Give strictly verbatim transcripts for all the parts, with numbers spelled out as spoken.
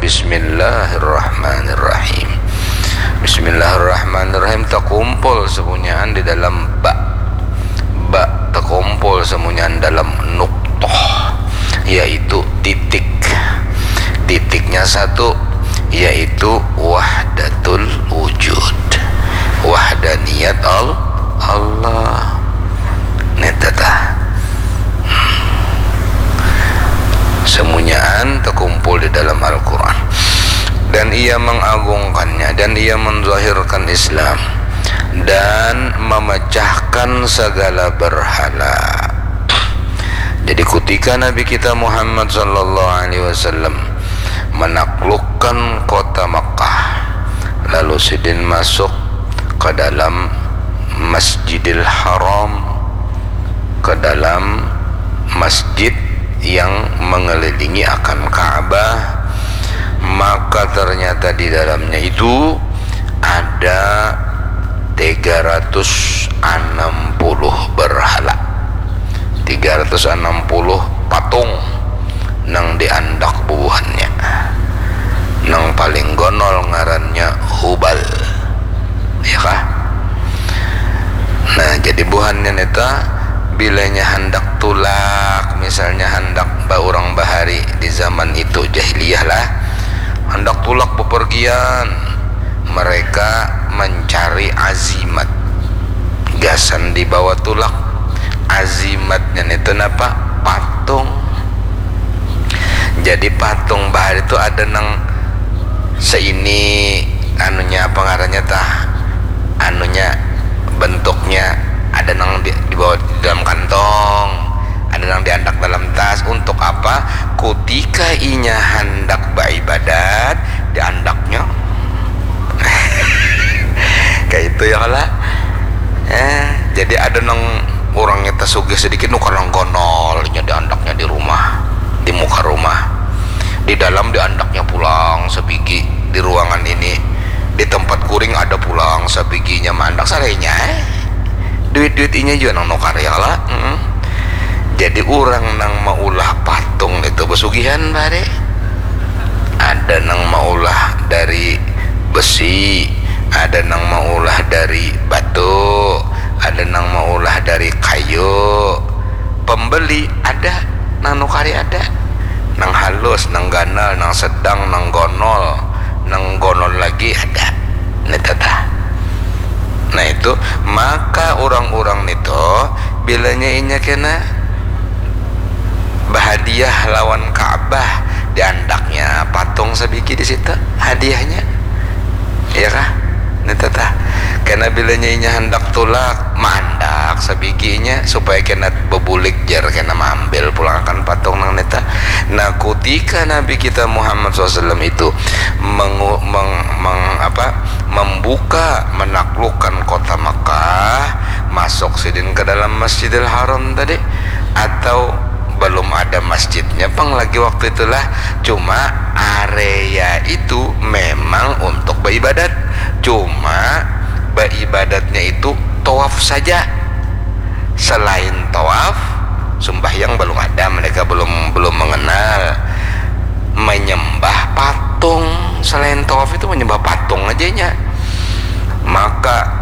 Bismillahirrahmanirrahim. Bismillahirrahmanirrahim. Takumpul samunyaan di dalam ba. Ba takumpul samunyaan dalam nuktoh, yaitu titik. Titiknya satu, yaitu wahdatul wujud, wahdaniyat Al-, Allah. Neta tah. Samunyaan takumpul di dalam Al-Quran. Dan ia mengagungkannya, dan ia menzahirkan Islam, dan memecahkan segala berhala. Jadi, kutika Nabi kita Muhammad sallallahu alaihi wasallam menaklukkan kota Makkah, lalu sidin masuk ke dalam Masjidil Haram, ke dalam masjid yang mengelilingi akan Ka'bah, maka ternyata di dalamnya itu ada tiga ratus enam puluh berhala. Tiga ratus enam puluh patung nang diandak bubuhannya. Nang paling gonol ngarannya Hubal. Ya kah? Nah, jadi buhannya neta, bilanya handak tulak, misalnya handak ba urang bahari di zaman itu, jahiliyah lah, handak tulak bepergian, mereka mencari azimat gasan dibawa tulak. Azimatnya neta napa? Patung. Jadi patung bahari tu ada nang seini, anunya, apa ngarannya tah, anunya, bentuknya, ada nang di, dibawa di dalam kantong, ada nang diandak dalam tas. Untuk apa? Kutika inya handak baibadat, diandaknya kayak itu ya kala. Eh, jadi ada nang urangnya tasugih sedikit, nukar nang gonolnya diandaknya di rumah, di muka rumah. Di dalam diandaknya pulang sabigi, di ruangan ini, di tempat kuring ada pulang sabiginya maandak sarainya, eh. Duit-duit inya jua nang nukar ya kala. Mm-mm. Jadi urang nang maulah patung itu besugihan bare. Ada nang maulah dari besi, ada nang maulah dari batu, ada nang maulah dari kayu. Pembeli ada, nang nukari ada. Nang halus, nang ganal, nang sedang, nang gonol, nang gonol lagi ada. Neta tah. Nah itu, maka urang-urang nitu bilanya inya kena bahadiah lawan Ka'bah, diandaknya patung sabigi di situ hadiahnya. Iya kah? Neta tah. Kena bilanya inya handak tulak, maandak sabiginya supaya kena bebulik jar, kena maambil pulangakan patung nang neta. Nah, kutika Nabi kita Muhammad sallallahu alaihi wasallam itu mengu-, meng-, meng-, apa, membuka, menaklukkan kota Mekah, masuk sidin ke dalam Masjidil Haram tadi, atau belum ada masjidnya pang lagi waktu itulah, cuma area itu memang untuk beribadat, cuma beribadatnya itu tawaf saja. Selain tawaf, sumbahyang belum ada, mereka belum, belum mengenal. Menyembah patung, selain tawaf itu menyembah patung aja nya. Maka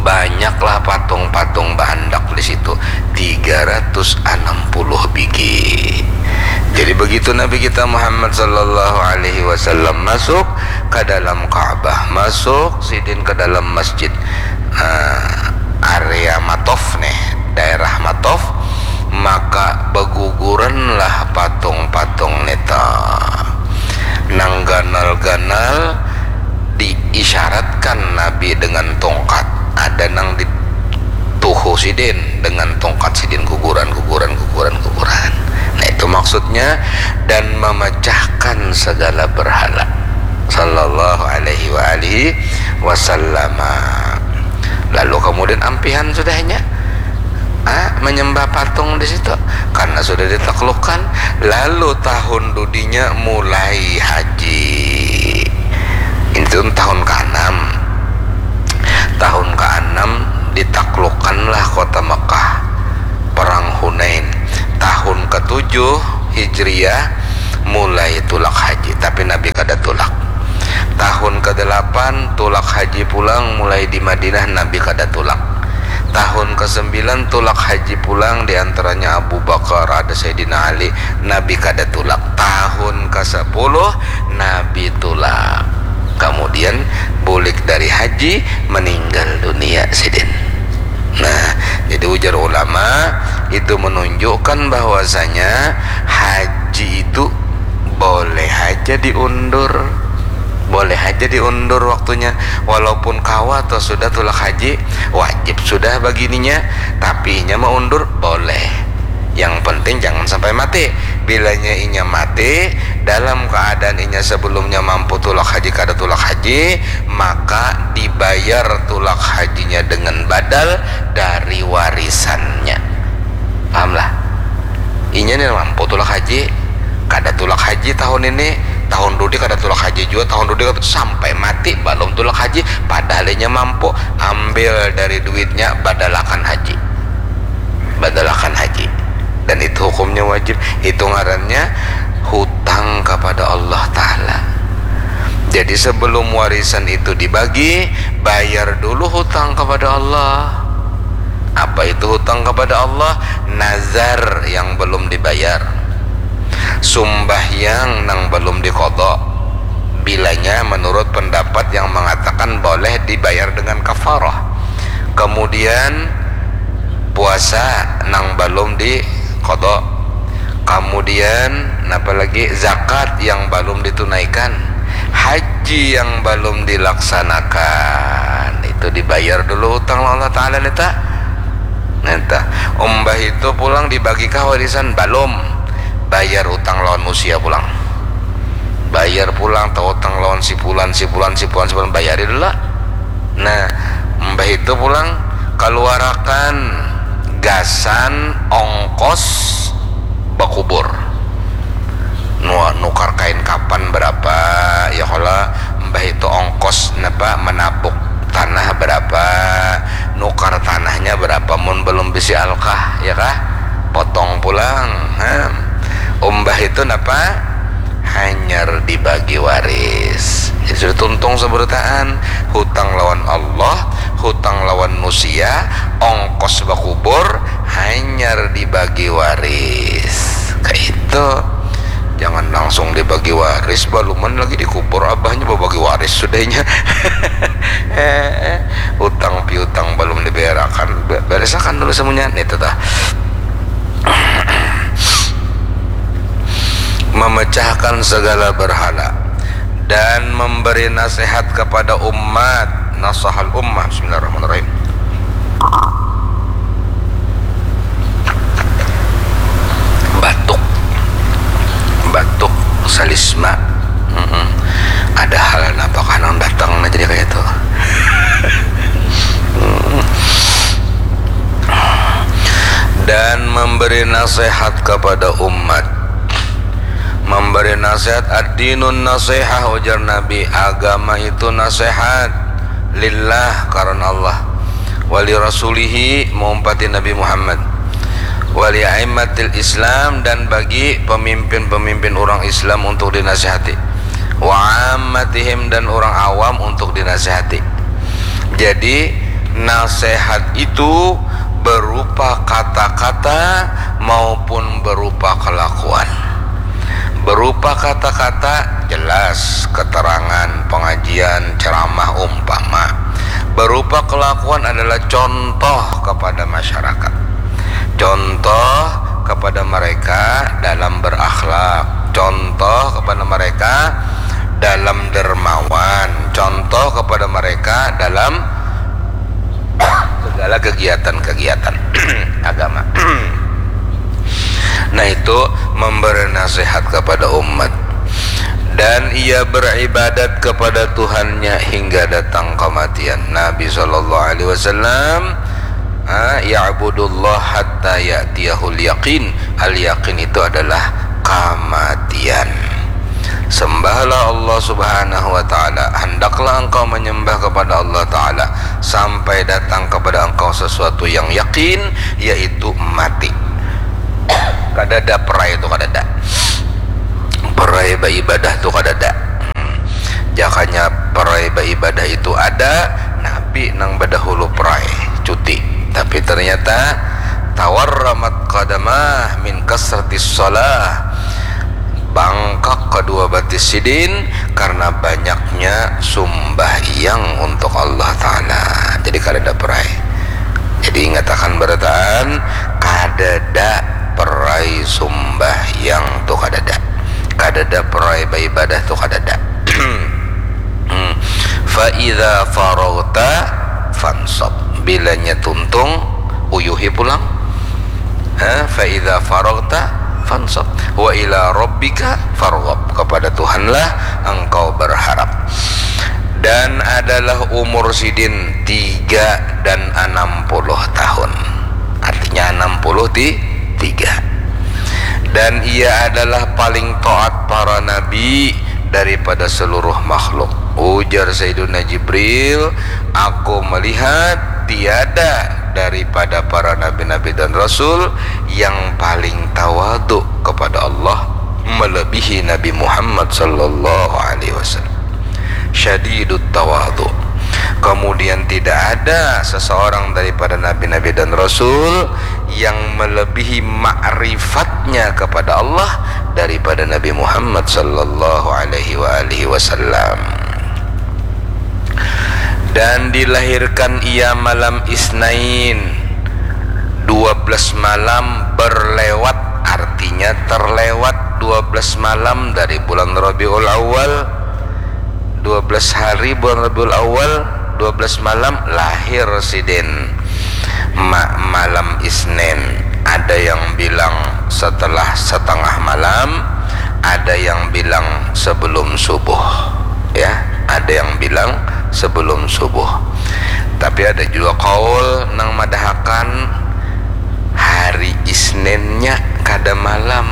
banyaklah patung-patung baandak di situ, tiga ratus enam puluh bigi. Jadi begitu Nabi kita Muhammad sallallahu alaihi wasallam masuk ke dalam Ka'bah, masuk sidin ke dalam masjid, eh, area Matof nih, daerah Matof, maka beguguranlah patung-patung neta. Nang ganal-ganal diisyaratkan Nabi dengan tongkat. Ada nang dituhu sidin dengan tongkat sidin, guguran, guguran, guguran, guguran. Nah, itu maksudnya, dan memecahkan segala berhala. Sallallahu alaihi wa alihi wasallam. Lalu kemudian ampihan sudahnya, ah, menyembah patung di situ karena sudah ditaklukkan. Lalu tahun dudinya mulai haji. Itu tahun keenam. Tahun keenam ditaklukkanlah kota Mekah. Perang Hunain. Tahun ketujuh Hijriah mulai tulak haji. Tapi Nabi kada tulak. Tahun kedelapan tulak haji pulang, mulai di Madinah Nabi kada tulak. Tahun kesembilan tulak haji pulang, di antaranya Abu Bakar, ada Sayyidina Ali, Nabi kada tulak. Tahun kesepuluh Nabi tulak. Kemudian bulik dari haji, meninggal dunia sidin. Nah, jadi ujar ulama, itu menunjukkan bahwasanya haji itu boleh aja diundur. Boleh aja diundur waktunya. Walaupun kawa atau sudah tulak haji, wajib sudah bagininya, tapi inya maundur boleh. Yang penting jangan sampai mati. Bilanya inya mati dalam keadaan inya sebelumnya mampu tulak haji, kada tulak haji, maka dibayar tulak hajinya dengan badal dari warisannya. Pahamlah? Inya ni mampu tulak haji, kada tulak haji tahun ini, tahun dudi kada tulak haji jua, tahun dudi kada, sampai mati balum tulak haji, padahal inya mampu, ambil dari duitnya, badalakan haji. Badalakan haji. Dan itu hukumnya wajib. Itu ngarannya hutang kepada Allah Ta'ala. Jadi sebelum warisan itu dibagi, bayar dulu hutang kepada Allah. Apa itu hutang kepada Allah? Nazar yang belum dibayar, sumbahyang nang belum diqadha, bilanya menurut pendapat yang mengatakan boleh dibayar dengan kafarah. Kemudian puasa nang belum diqadha. Kemudian napa lagi? Zakat yang belum ditunaikan, haji yang belum dilaksanakan, itu dibayar dulu utang lawan Allah Ta'ala nita. Nita. Umbah itu pulang dibagikah warisan? Balum. Bayar utang lawan nusia pulang. Bayar pulang, tautang lawan si pulan, si pulan, si pulan, si pulan, bayari dulu lah. Nah, umbah itu pulang kaluarakan gasan ongkos bakubur. Nu-, nukar kain kapan berapa, ya kalo, mbah itu ongkos napa menabuk tanah berapa, nukar tanahnya berapa, mun belum bisi alkah, ya kah? Potong pulang. Nah, umbah itu napa? Hanyar dibagi waris. Jadi sudah tuntung seberataan, hutang lawan Allah, hutang lawan nusia, ongkos bakubur, hanyar dibagi waris. Kaitu. Jangan langsung dibagi waris, baluman lagi dikubur abahnya babagi waris sudahnya. Eh, utang piutang balum dibayarakan, be-, beresakan dulu semuanya, nitu tah. Memecahkan segala berhala dan memberi nasihat kepada umat. Nasahal ummah. Bismillahirrahmanirrahim. Batuk. Batuk, salisma. Mm-mm. Ada hal napakah nang datang nah jadi kaya itu. Mm. Dan memberi nasihat kepada umat. Memberi nasihat, ad-dinun nasihah, ujar Nabi, agama itu nasihat, lillah, karena Allah, wali rasulihi, maumpati Nabi Muhammad, wali aimmatil Islam, dan bagi pemimpin-pemimpin orang Islam untuk dinasihati, wa ammatihim, dan orang awam untuk dinasihati. Jadi nasihat itu berupa kata-kata maupun berupa kelakuan. Berupa kata-kata jelas, keterangan, pengajian, ceramah, umpama. Berupa kelakuan adalah contoh kepada masyarakat. Contoh kepada mereka dalam berakhlak. Contoh kepada mereka dalam dermawan. Contoh kepada mereka dalam segala kegiatan-kegiatan agama. Nah, itu memberi nasihat kepada umat. Dan ia beribadat kepada Tuhannya hingga datang kematian. Nabi sallallahu alaihi wasallam, ah, ya'budullah hatta ya'tiyahul yaqin. Al-yaqin itu adalah kematian. Sembahlah Allah Subhanahu wa Ta'ala, hendaklah engkau menyembah kepada Allah Ta'ala sampai datang kepada engkau sesuatu yang yakin, yaitu mati. Kadada perai itu, kadada. Perai beribadah tu kadada. Jakanya perai baibadah itu ada, Nabi nang badahulu perai cuti. Tapi ternyata tawarramat qadamah min kasratis shalah, bangkak kedua batis sidin karena banyaknya sumbahyang untuk Allah Ta'ala. Jadi kadada perai. Jadi ingatakan barataan, kadada perai sumbahyang tu kadada. Kadada perai baibadah tu kadada. Hmm. Fa idza faraghta fansab. Bilanya tuntung, uyuhi pulang. Ha, fa idza faraghta fansab. Wa ila rabbika farghab. Kepada Tuhanlah engkau berharap. Dan adalah umur sidin tiga dan enam puluh tahun. Artinya enam puluh ti-, tiga. Dan ia adalah paling taat para nabi daripada seluruh makhluk. Ujar Sayyiduna Jibril, "Aku melihat tiada daripada para nabi-nabi dan rasul yang paling tawadu kepada Allah melebihi Nabi Muhammad sallallahu alaihi wasallam." Syadidut tawadu. Kemudian tidak ada seseorang daripada nabi-nabi dan rasul yang melebihi makrifatnya kepada Allah daripada Nabi Muhammad sallallahu alaihi wa alihi wasallam. Dan dilahirkan ia malam Isnin, dua belas malam berlewat, artinya terlewat dua belas malam dari bulan Rabiul Awal. Dua belas hari bulan Rabiul Awal, dua belas malam lahir sidin. Ma-, malam Isnin. Ada yang bilang setelah setengah malam, ada yang bilang sebelum subuh. Ya, ada yang bilang sebelum subuh. Tapi ada juga kaul nang madahakan hari Isninnya kada malam.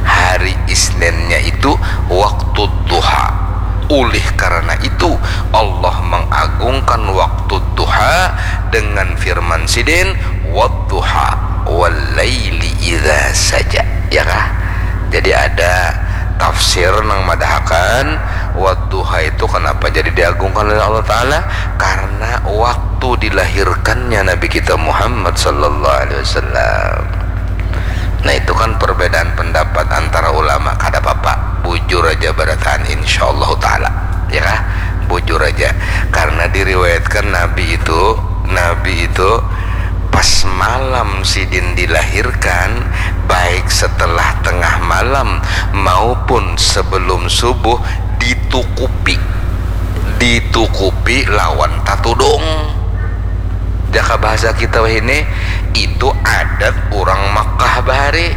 Hari Isninnya itu waktu duha. Oleh karena itu, Allah mengagungkan waktu duha dengan firman sidin, "Wadduha, wal laili idza saja." Ya kah? Jadi ada tafsir nang madahakan wadduha itu kenapa jadi diagungkan oleh Allah Ta'ala? Karena waktu dilahirkannya Nabi kita Muhammad sallallahu alaihi wasallam. Nah, itu kan perbedaan pendapat antara ulama, kada apa-apa, bujur aja barataan, insyaallah ta'ala, ya kah? Bujur aja, karena diriwayatkan Nabi itu, Nabi itu pas malam sidin dilahirkan, baik setelah tengah malam maupun sebelum subuh, ditukupi, ditukupi lawan tatudung. Jaka bahasa kita wahini, itu adat urang Makkah bahari.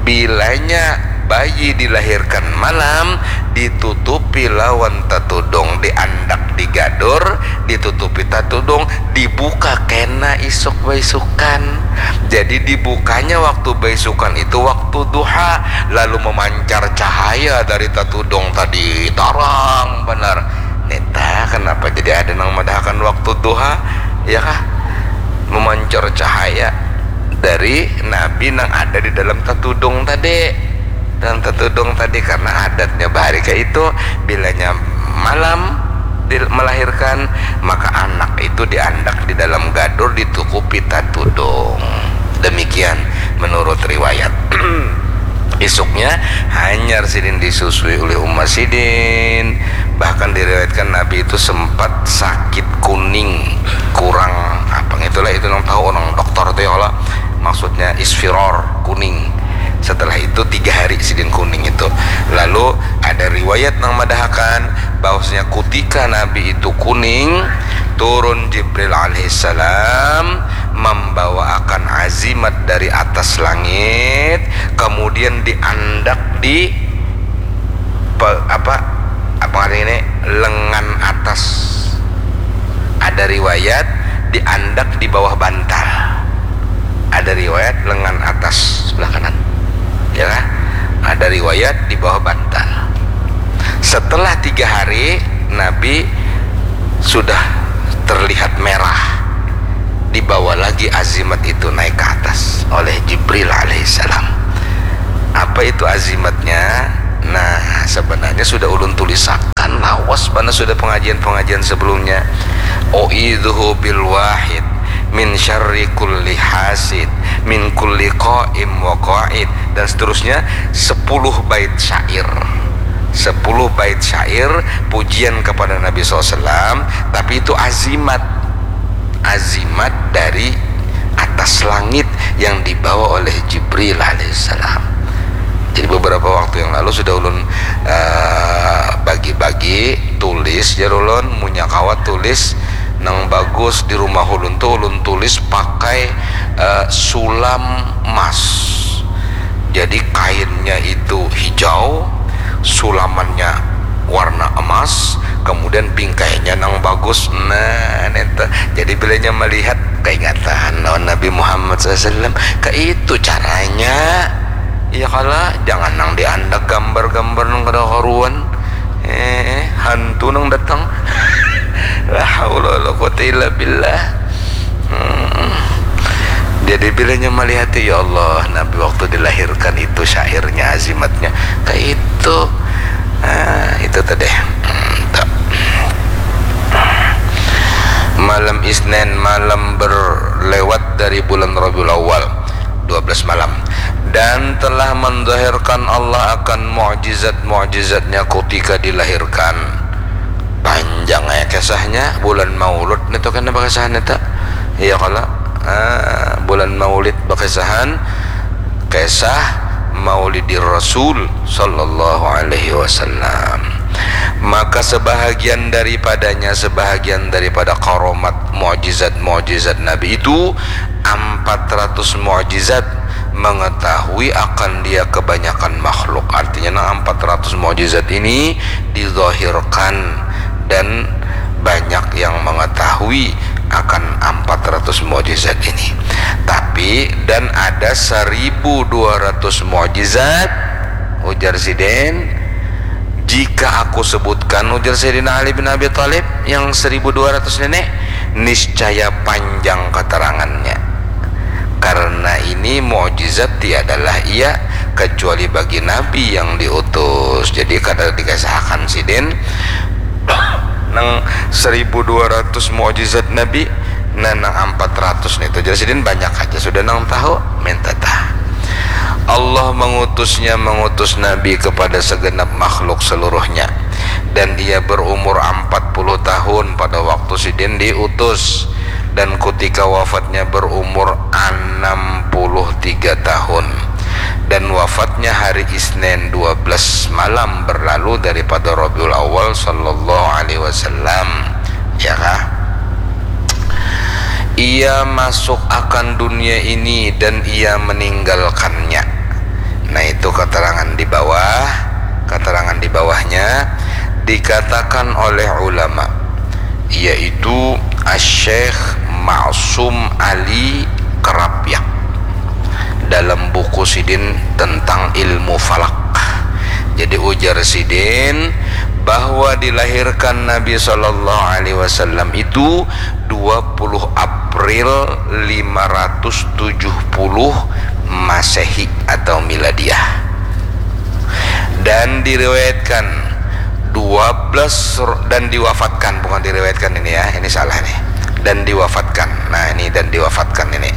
Bilanya bayi dilahirkan malam, ditutupi lawan tatudung, diandak di gadur, ditutupi tatudung, dibuka kena isuk baisukan. Jadi dibukanya waktu baisukan itu waktu duha, lalu memancar cahaya dari tatudung tadi, tarang banar. Nita, kenapa jadi ada nang madahakan waktu duha, ya kah? Memancar cahaya dari Nabi nang ada di dalam tatudung tadi. Dalam tatudung tadi, karena adatnya bahari kayak itu, bilanya malam dil-, melahirkan, maka anak itu diandak di dalam gadur, ditukupi tatudung. Demikian menurut riwayat. Isuknya hanyar sidin disusui oleh uma sidin, bahkan diriwayatkan Nabi itu sempat sakit kuning, kurang apa, itulah itu nang tahu orang dokter tuh ya Allah, maksudnya isfiror, kuning. Setelah itu tiga hari sidin kuning itu. Lalu ada riwayat nang madahakan bahwasanya kutika Nabi itu kuning, turun Jibril alaihissalam membawakan azimat dari atas langit, kemudian diandak di pe-, apa, apa ngaran ini, lengan atas. Ada riwayat diandak di bawah bantal. Ada riwayat lengan atas sebelah kanan. Ya kan? Ada riwayat di bawah bantal. Setelah tiga hari, Nabi sudah terlihat merah. Dibawa lagi azimat itu naik ke atas oleh Jibril alaihissalam. Apa itu azimatnya? Nah, sebenarnya sudah ulun tulisakan lawas Karena sudah pengajian-pengajian sebelumnya, "U'idzuhu bil wahid min syarri kulli hasid, min kulli qaim wa qaid," dan seterusnya, sepuluh bait syair. Sepuluh bait syair pujian kepada Nabi sallallahu alaihi wasallam, tapi itu azimat. Azimat dari atas langit yang dibawa oleh Jibril alaihissalam. Jadi beberapa waktu yang lalu sudah ulun, eh, bagi-bagi tulis, jar ulun, munya kawa tulis nang bagus di rumah ulun tu ulun tulis pakai, eh, sulam emas. Jadi kainnya itu hijau, sulamannya warna emas, kemudian bingkainya nang bagus. Nah, neta. Jadi bilanya melihat keingatan lawan Nabi Muhammad sallallahu alaihi wasallam. Kaitu caranya. Iya kala, jangan nang diandak gambar-gambar nang kada karuan. Eh, hantu nang datang. La haula wala quwata illa billah. Hmm. Jadi bilanya melihat, ya Allah, Nabi waktu dilahirkan itu syairnya, azimatnya. Kaitu. Ah, itu tadi. Hmm, tak. Malam Isnin, malam berlewat dari bulan Rabiul Awal, dua belas malam. Dan telah menzahirkan Allah akan mukjizat-mukjizatnya ketika dilahirkan. Panjang ya kisahnya, bulan Maulud nitu kena bakisahan itu. Iya kala? Ah, bulan Maulid bakisahan kisah Maulidir Rasul sallallahu alaihi wasallam. Maka sebahagian daripadanya, sebahagian daripada karomat, mukjizat-mukjizat Nabi itu, empat ratus mukjizat mengetahui akan dia kebanyakan makhluk. Artinya, nah, empat ratus mukjizat ini dizahirkan dan banyak yang mengetahui akan empat ratus mukjizat ini. Tapi, dan ada seribu dua ratus mukjizat, ujar sidin, jika aku sebutkan, ujar Sayyidina Ali bin Abi Thalib, yang seribu dua ratus ini, niscaya panjang keterangannya. Karena ini mukjizat tiadalah ia kecuali bagi Nabi yang diutus. Jadi, kada dikasahakan sidin nang seribu dua ratus mukjizat Nabi, nah, nang empat ratus nitu, jar sidin, banyak aja sudah nang tahu, minta tah. Allah mengutusnya, mengutus Nabi kepada segenap makhluk seluruhnya. Dan ia berumur empat puluh tahun pada waktu sidin diutus. Dan ketika wafatnya berumur enam puluh tiga tahun. Dan wafatnya hari Isnin dua belas malam berlalu daripada Rabiul Awal sallallahu alaihi wasallam. Ya kah? Ia masuk akan dunia ini dan ia meninggalkannya. Nah, itu keterangan di bawah, keterangan di bawahnya dikatakan oleh ulama, yaitu Asy-Syaikh Ma'sum Ali Kerapyak dalam buku sidin tentang ilmu falak. Jadi, ujar sidin bahwa dilahirkan Nabi sallallahu alaihi wasallam itu dua puluh April lima ratus tujuh puluh Masehi atau Miladiah. Dan diriwayatkan dua belas ro-, dan diwafatkan, bukan diriwayatkan ini ya, ini salah nih. Dan diwafatkan. Nah, ini dan diwafatkan ini.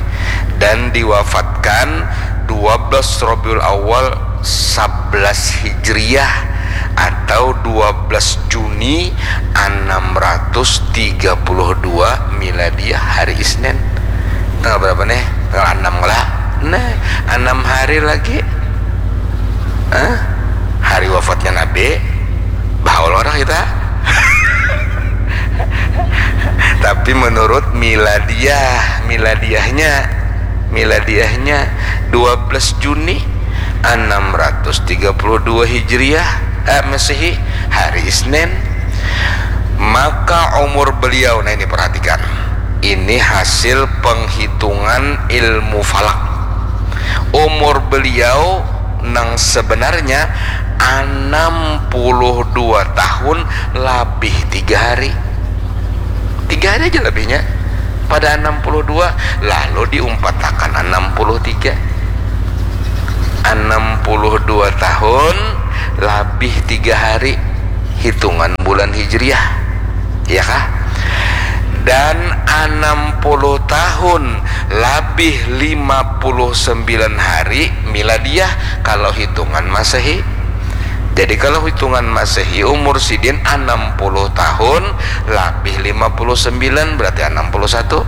Dan diwafatkan dua belas Rabiul Awal sebelas Hijriah atau dua belas Juni enam ratus tiga puluh dua Miladiah, hari Isnin. Tanggal berapa nih? Tanggal enam lah. Nah, enam hari lagi. Hah? Hari wafatnya Nabi. Bahaul orang kita. Tapi menurut miladiah, miladiahnya, miladiahnya dua belas Juni enam ratus tiga puluh dua Hijriah, eh, Masehi, hari Isnin. Maka umur beliau, nah, ini perhatikan. Ini hasil penghitungan ilmu falak. Umur beliau nang sebenarnya enam puluh dua tahun labih tiga hari. Tiga hari aja lebihnya. Pada enam puluh dua, lalu diumpatakan enam puluh tiga. Enam puluh dua tahun labih tiga hari. hitungan bulan Hijriah, ya kah? Dan anam puluh tahun labih lima puluh sembilan hari miladiah kalau hitungan Masehi. Jadi kalau hitungan Masehi umur sidin anam puluh tahun labih lima puluh sembilan, berarti anam puluh satu.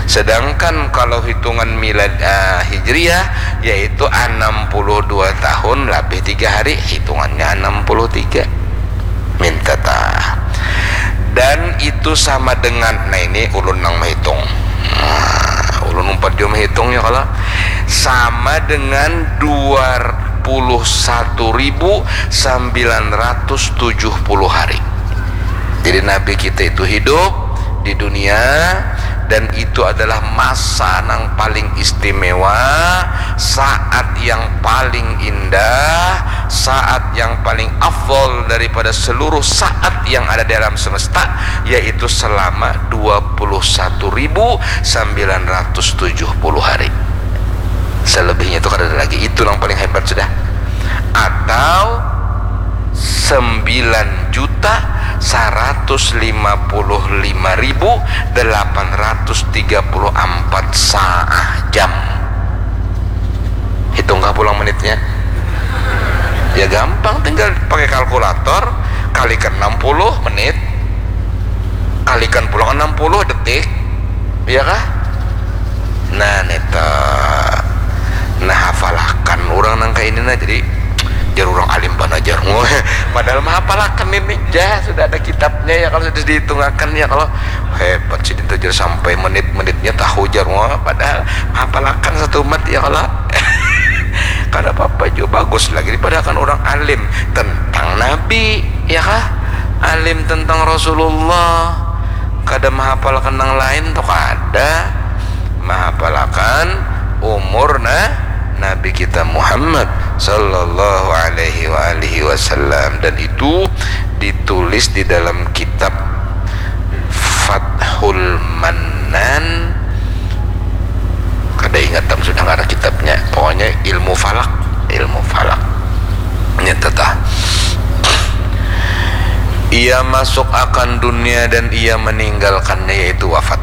Sedangkan kalau hitungan milad, eh, Hijriah, yaitu anam puluh dua tahun labih tiga hari, hitungannya anam puluh tiga. Minta ta. Dan itu sama dengan, nah, ini ulun nang menghitung. Nah, ulun umpat jua menghitung ya kalau sama dengan dua puluh satu ribu sembilan ratus tujuh puluh hari. Jadi Nabi kita itu hidup di dunia, dan itu adalah masa yang paling istimewa, saat yang paling indah, saat yang paling afdol daripada seluruh saat yang ada di alam semesta, yaitu selama dua puluh satu ribu sembilan ratus tujuh puluh hari. Selebihnya itu kada ada lagi. Itu yang paling hebat sudah. Atau sembilan juta seratus lima puluh lima ribu delapan ratus tiga puluh empat saah jam. Hitungkah pulang menitnya? Ya gampang, tinggal pakai kalkulator, kalikan enam puluh menit, kalikan pulang enam puluh detik, ya kah? Nah, neta. Nah, hafalakan orang nang kayak ini, nah, jadi jar orang alim bana jar. Padahal mah hafalakan ini, jah, sudah ada kitabnya ya, kalau sudah dihitungakan ya, kalau hebat sih, itu jar sampai menit-menitnya tahu jar. Wah, padahal hafalakan satu umat ya kalau. Kada apa-apa juga, bagus lagi daripada kan orang alim tentang Nabi, ya kah? Alim tentang Rasulullah. Kada mahapalkan nang lain tuh kada. Mahapalakan umur, nah, Nabi kita Muhammad sallallahu alaihi wa alihi wasallam, dan itu ditulis di dalam kitab Fathul Mannan. Kada ingat tam sudah ngaran kitabnya, pokoknya ilmu falak, ilmu falak. Ini tetah. Ia masuk akan dunia dan ia meninggalkannya, yaitu wafat.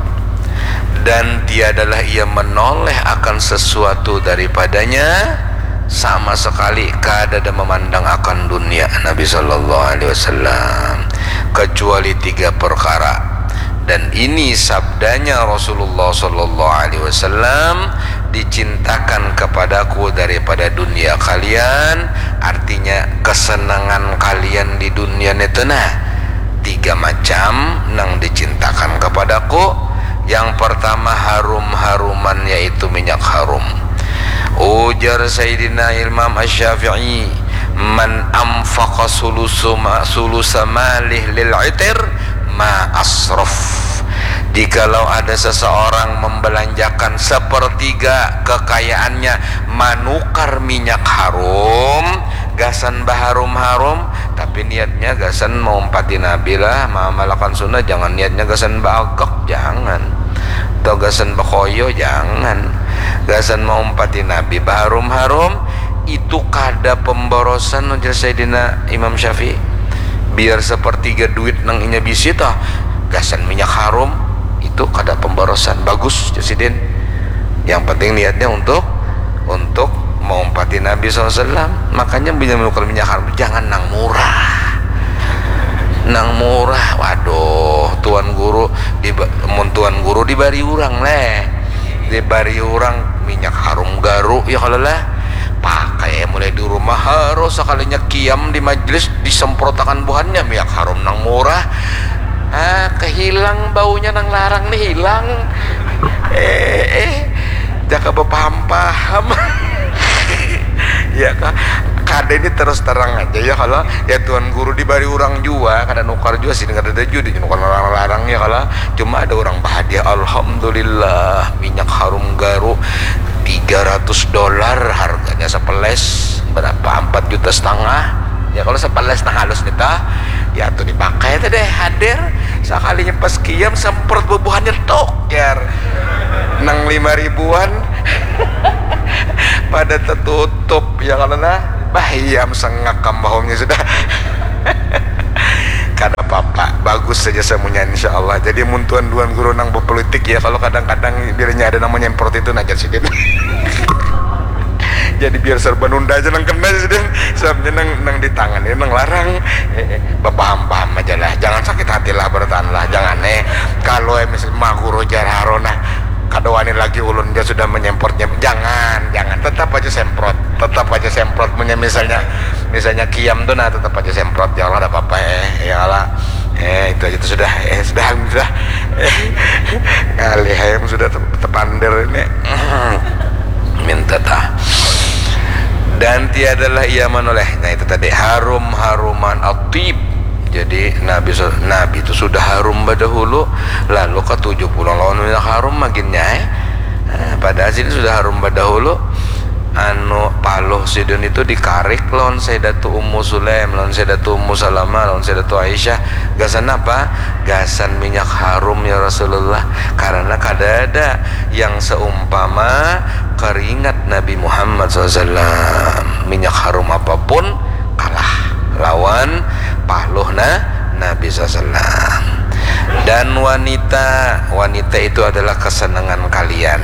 Dan tiadalah ia menoleh akan sesuatu daripadanya, sama sekali kada ada memandang akan dunia Nabi sallallahu alaihi wasallam, kecuali tiga perkara. Dan ini sabdanya Rasulullah sallallahu alaihi wasallam, "Dicintakan kepadaku daripada dunia kalian," artinya kesenangan kalian di dunia itu, nah, tiga macam nang dicintakan kepadaku. Yang pertama, harum-haruman, yaitu minyak harum. Ujar Sayyidina Imam Asy-Syafi'i, "Man anfaqa sulusu ma-, sulusa malih lil itir ma asraf." Jikalau ada seseorang membelanjakan sepertiga kekayaannya manukar minyak harum, gasan baharum-harum, tapi niatnya gasan maumpati Nabi lah, maamalakan sunnah, jangan niatnya gasan baagak, jangan. Atau gasan bakoyo, jangan. Gasan maumpati Nabi, baharum-harum, itu kada pemborosan, ujar Sayyidina Imam Syafi'i. Biar sepertiga duit nang inya bisi toh, gasan minyak harum, itu kada pemborosan. Bagus, ujar sidin. Yang penting niatnya untuk, untuk maumpati Nabi sallallahu alaihi wasallam. Makanya bila menukar minyak harum tu jangan nang murah. Nang murah, waduh, tuan guru di, mun tuan guru dibari urang leh. Dibari urang minyak harum garu, ya kalau lah. Pakai mulai di rumah, harus sekalinya kiam di majlis disemprotakan buhannya minyak harum nang murah. Ah, kehilang baunya nang larang nih, hilang. Eh, eh, jaka bepaham-paham. Ya kah? Kada, ini terus terang aja ya, kalau ya tuan guru dibari urang jua, kada nukar jua sih, kada ada jua di nukar larang-larang ya, kalau cuma ada urang bahadiah, alhamdulillah, minyak harum garu tiga ratus dolar harganya, sepeles berapa, empat juta setengah. Ya kalau sepeles nang halus nih tah, ya tuh dipakai tuh deh, hadir, sekalinya pas kiam semprot bubuhannya tok, jar. Nang lima ribuan pada tertutup ya, kalau nah, bah, iya, sengak kambahumnya sudah. Bagus saja samunya, insya Allah. Jadi mun tuan-tuan guru nang berpolitik ya, kalau kadang-kadang bilanya ada nang menyemprot itu, najar sidin. Jadi biar serba nunda aja nang kena sidin. Sebabnya nang nang di tangan ini nang larang. Eh, eh, bapaham-paham aja lah. Jangan sakit hati lah, bertahan lah. Jangan eh. Kalau eh, mis- maguru jar Harun nah, kada wani lagi ulun dia sudah menyemprotnya. Jangan, jangan. Tetap aja semprot. Tetap aja semprot. Punya misalnya, misalnya kiam tuh nah tetap aja semprot. Ya Allah, ada apa-apa eh. Ya Allah. Eh, itu aja tuh sudah. Eh, sudah, sudah. Eh, ngalih ayam sudah te- tepander ini. Minta tah. Dan tiadalah ia menoleh. Nah, itu tadi harum-haruman atib. Jadi Nabi sa- Nabi itu sudah harum badahulu, lalu katuju pulang lawan minyak harum maginnya eh. Eh, padahal sini sudah harum badahulu. Anu paluh sidin itu dikarik lawan Sayyidatu Ummu Sulaim, lawan Sayyidatu Ummu Salamah, lawan Sayyidatu Aisyah. Gasan apa? Gasan minyak harum ya Rasulullah. Karena kada ada yang seumpama keringat Nabi Muhammad sallallahu alaihi wasallam. Minyak harum apapun kalah lawan paluh na Nabi sallallahu alaihi wasallam. Dan wanita, wanita itu adalah kesenangan kalian.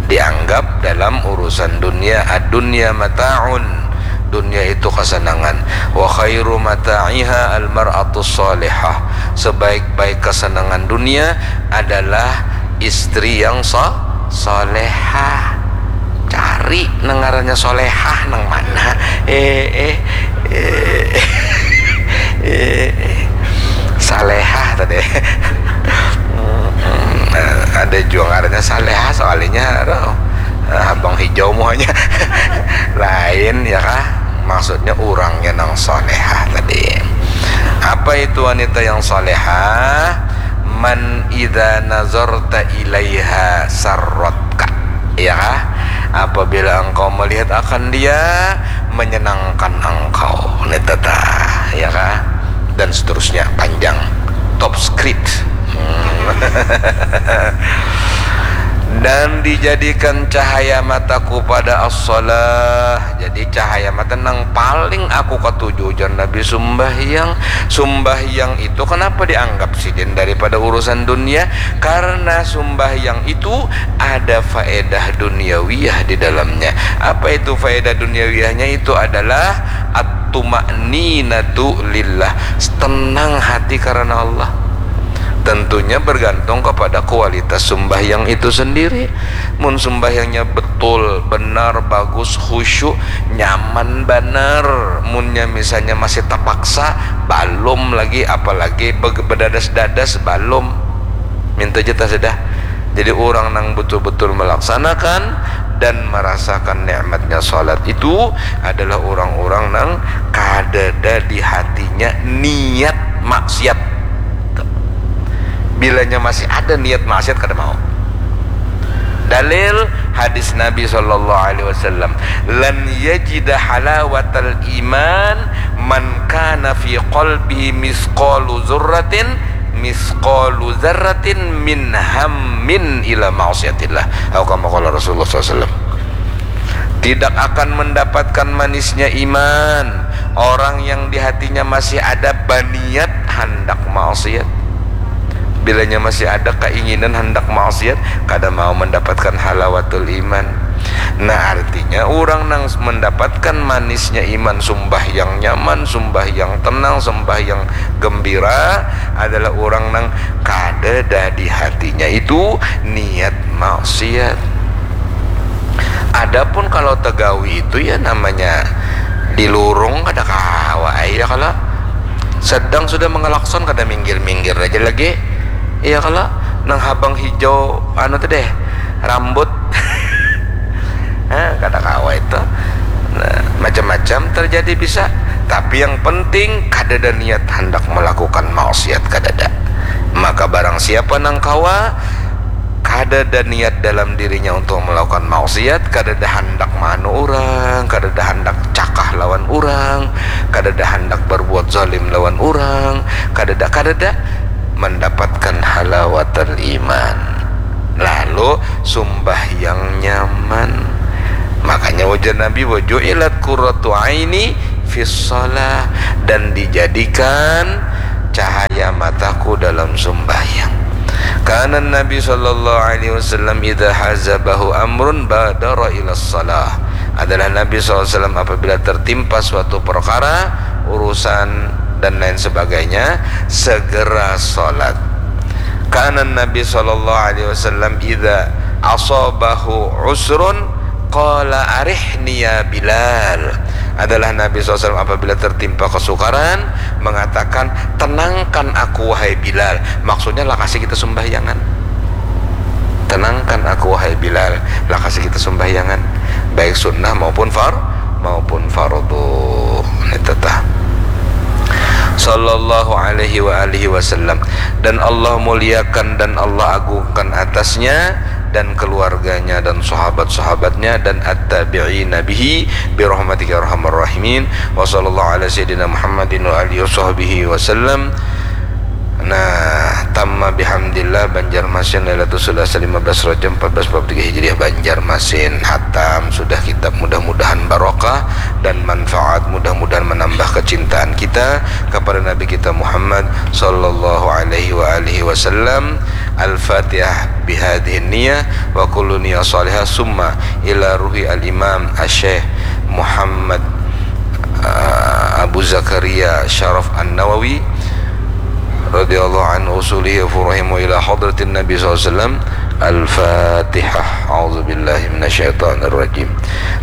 Dianggap dalam urusan dunia, ad-dunya mata'un. Dunia itu kesenangan. Wa khairu mata'iha al-mar'atus salihah. Sebaik-baik kesenangan dunia adalah istri yang so- solehah. Cari nang ngarannya solehah nang mana? Eh, eh, eh, eh, eh. Salehah tadi. Hmm, ada juga ngarannya salehah soalnya, aduh, habang hijau muanya. Lain ya kah? Maksudnya urangnya nang solehah tadi. Apa itu wanita yang solehah? Man idza nazarta ilaiha sarratka. Ya kah? Apabila engkau melihat akan dia, menyenangkan engkau. Nita tah, ya kah? Dan seterusnya, panjang. Top script. Hmm. Dan dijadikan cahaya mataku pada as-salah. Jadi cahaya mata nang paling aku katuju, ujar Nabi, sumbahyang. Sumbahyang itu kenapa dianggap sidin daripada urusan dunia? Karena sumbahyang itu ada faedah duniawiyah di dalamnya. Apa itu faedah duniawiyahnya? Itu adalah at-tuma'ninatu lillah, tenang hati karena Allah. Tentunya bergantung kepada kualitas sumbahyang itu sendiri. Mun sumbahyangnya betul, benar, bagus, khusyuk, nyaman banar. Munnya misalnya masih terpaksa, balum lagi, apalagi be- bedadas-dadas, balum. Minta jatah sudah. Jadi orang nang betul-betul melaksanakan dan merasakan nikmatnya salat itu adalah orang-orang nang kadada di hatinya niat maksiat. Bilanya masih ada niat maksiat, kada mau. Dalil hadis Nabi sallallahu alaihi wasallam, "Lan yajida halawatal iman man kana fi qalbihi misqalu dzurratin, misqalu dzarratin min hammin ila ma'siyatillah." Atau kama qala Rasulullah sallallahu alaihi wasallam. Tidak akan mendapatkan manisnya iman orang yang di hatinya masih ada baniat handak maksiat. Bilanya masih ada keinginan handak maksiat, kada mau mendapatkan halawatul iman. Nah, artinya orang nang mendapatkan manisnya iman, sumbahyang nyaman, sumbahyang tenang, sumbahyang gembira adalah orang nang kadada di hatinya itu niat maksiat. Adapun kalau tegawi itu ya namanya dilurung kada kawa ai ya kalo. Sedang sudah mengelakson kada minggir-minggir aja lagi. Iya kalo, nang habang hijau anu tuh deh, rambut. Nah, kada kawa itu. Nah, macam-macam terjadi bisa. Tapi yang penting kadada niat handak melakukan maksiat, kadada. Maka barang siapa nang kawa kadada niat dalam dirinya untuk melakukan maksiat, kadada handak maanu orang, kadada handak cakah lawan orang, kadada handak berbuat zalim lawan orang, kadada, kadada mendapatkan halawatul iman. Lalu sumbahyang nyaman. Makanya ujar Nabi, "Wa ju'ilat qurratu aini fis shalah," dan dijadikan cahaya mataku dalam sumbahyang. Kana Nabi sallallahu alaihi wasallam idza hazabahu amrun badara ila shalah. Adalah Nabi sallallahu alaihi wasallam apabila tertimpa suatu perkara, urusan dan lain sebagainya, segera salat. Kana Nabi sallallahu alaihi wasallam idza asabahu usrun qala arihni ya Bilal. Adalah Nabi sallallahu alaihi wasallam apabila tertimpa kesukaran mengatakan, "Tenangkan aku wahai Bilal." Maksudnya, lakasi kita sembahyangan. "Tenangkan aku wahai Bilal." Lakasi kita sembahyangan, baik sunnah maupun far-, maupun fardu. Ini tetap. Sallallahu alaihi wa alihi wasallam. Dan Allah muliakan dan Allah agungkan atasnya dan keluarganya dan sahabat-sahabatnya dan at-tabi'ina bihi bi rahmatika ya arhamar rahimin. Wa sallallahu ala sayyidina Muhammadin wa alihi wa sahbihi wasallam. Nah, tamma bihamdillah Banjarmasin Lailatul Sulasa lima belas Rajab empat belas empat puluh tiga Hijriah Banjarmasin. Hatam sudah kitab, mudah-mudahan barokah dan manfaat, mudah-mudahan menambah kecintaan kita kepada Nabi kita Muhammad sallallahu alaihi wa alihi wasallam. Al-Fatihah bihadhihi niyah wa kullu niyah salihah summa ila ruhi al-Imam Asy-Syaikh Muhammad, uh, Abu Zakaria Syaraf An-Nawawi radhiyallahu anhu usulihi wa furuhihi wa ila hadratin Nabi sallallahu alaihi wasallam. Al-Fatihah. A'udzu billahi minasyaitonir rajim.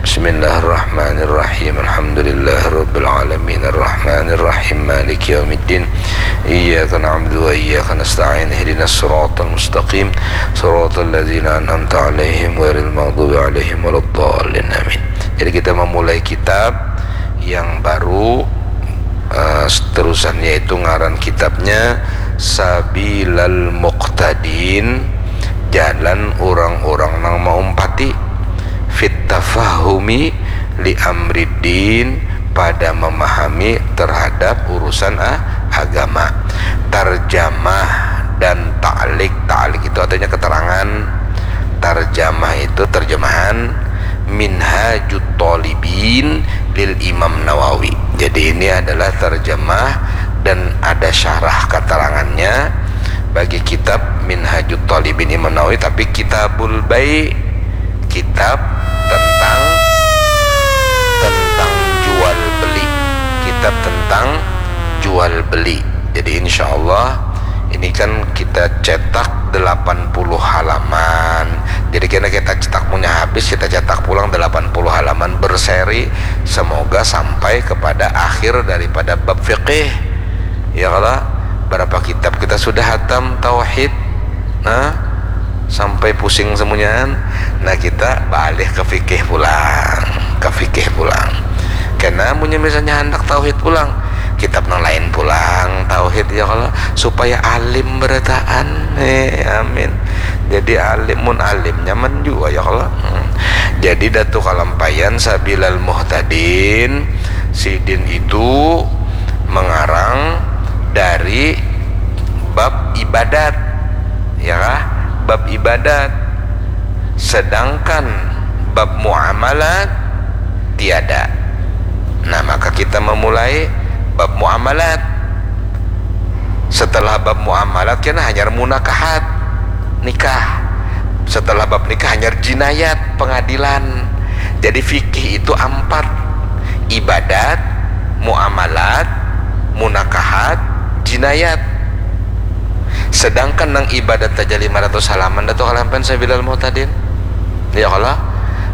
Bismillahirrahmanirrahim. Alhamdulillahirabbil alamin. Arrahmanirrahim. Maliki yaumiddin. Iyyaka na'budu wa iyyaka nasta'in. Ihdinas siratal mustaqim. Siratal ladzina an'amta 'alaihim ghairil maghdubi 'alaihim waladdallin. Amin. Jadi kita memulai kitab yang baru, eh, seterusan, yaitu ngaran kitabnya Sabilal Muqtadin, jalan orang-orang nang maumpati, fit tafahumi li amriddin, pada memahami terhadap urusan a-, agama. Tarjamah dan ta'lik. Ta'lik itu artinya keterangan. Tarjamah itu terjemahan Minhajut Thalibin lil Imam Nawawi. Jadi ini adalah terjemah dan ada syarah keterangannya bagi kitab Minhajut Thalibin Imam Nawawi, tapi Kitabul Bai', kitab tentang, tentang jual beli, kitab tentang jual beli. Jadi insya Allah ini kan kita cetak delapan puluh halaman. Jadi kena kita cetak punya habis, kita cetak pulang delapan puluh halaman berseri. Semoga sampai kepada akhir daripada bab fikih. Ya kalau berapa kitab kita sudah hatam tauhid, nah, sampai pusing semuanya. Nah, kita balik ke fikih pulang, ke fikih pulang. Karena punya misalnya hendak tauhid pulang, kitab nang lain pulang tauhid, ya kalau supaya alim berataan. Eh, amin. Jadi alim, mun alim nyaman juga, ya kalau. Hmm. Jadi Datu Kalampayan Sabilal Muhtadin sidin itu mengarang dari bab ibadat, ya kah? Bab ibadat. Sedangkan bab muamalat tiada. Nah, maka kita memulai bab muamalat. Setelah bab muamalat, kena hanyar munakahat, nikah. Setelah bab nikah, hanyar jinayat, pengadilan. Jadi fikih itu ampat: ibadat, muamalat, munakahat, jinayat. Sedangkan nang ibadat aja lima ratus halaman, Datu Kalampayan Sabilal Muhtadin. Ya kalau,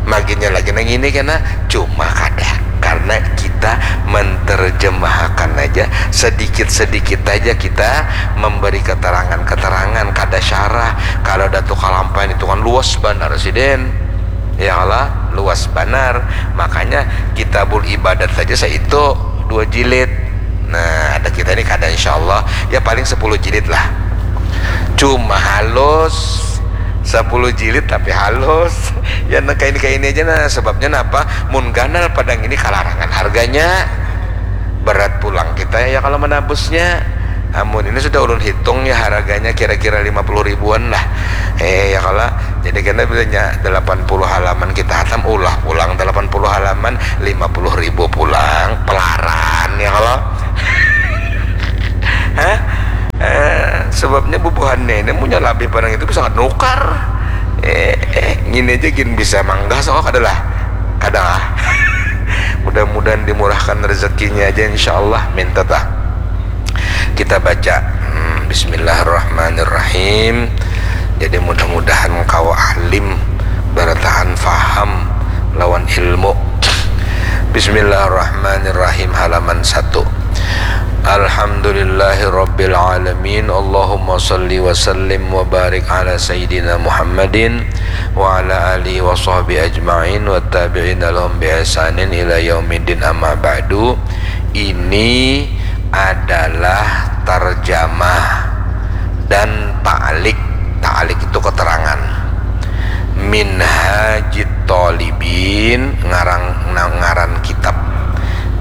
maginnya lagi nang ini kena, cuma kada. Karena kita menterjemahkan aja, sedikit-sedikit aja kita memberi keterangan-keterangan, kada syarah. Kalau Datu Kalampayan itu kan luas banar sidin. Ya kalau, luas banar. Makanya Kitabul Ibadat saja saitu dua jilid. Nah, ada kita ini kada, insya Allah. Ya, paling sepuluh jilid lah. Cuma halus, sepuluh jilid tapi halus. Ya, nah, kayak ini, kayak ini aja, nah. Sebabnya napa? Mun ganal padang ini kalarangan harganya. Berat pulang kita, ya, kalau menabusnya. Amun ini sudah ulun hitung, ya, harganya kira-kira lima puluh ribuan lah. Eh, ya kalau, jadi kena bilanya delapan puluh halaman kita hatam, ulah pulang delapan puluh halaman, lima puluh ribu pulang, pelaran, ya kalau. Hah? Eh, Sebabnya bubuhannya ini munnya labih parang itu bisa nukar. Eh, eh, ngini aja gin bisa manggah soko kada lah. Kada lah. Mudah-mudahan dimurahkan rezekinya aja, insyaallah. Minta tah. Kita baca. Hmm, Bismillahirrahmanirrahim. Jadi mudah-mudahan kawa alim barataan faham lawan ilmu. Bismillahirrahmanirrahim, halaman satu. Alhamdulillahirabbil alamin. Allahumma shalli wa sallim wa barik ala sayyidina Muhammadin wa ala alihi wa sahbihi ajma'in wa tabi'ina lahum bi ihsanin ila yaumiddin, amma ba'du. Ini adalah tarjamah dan ta'liq. Ta'liq itu keterangan. Minhajit Thalibin, ngarang, na-, ngaran kitab.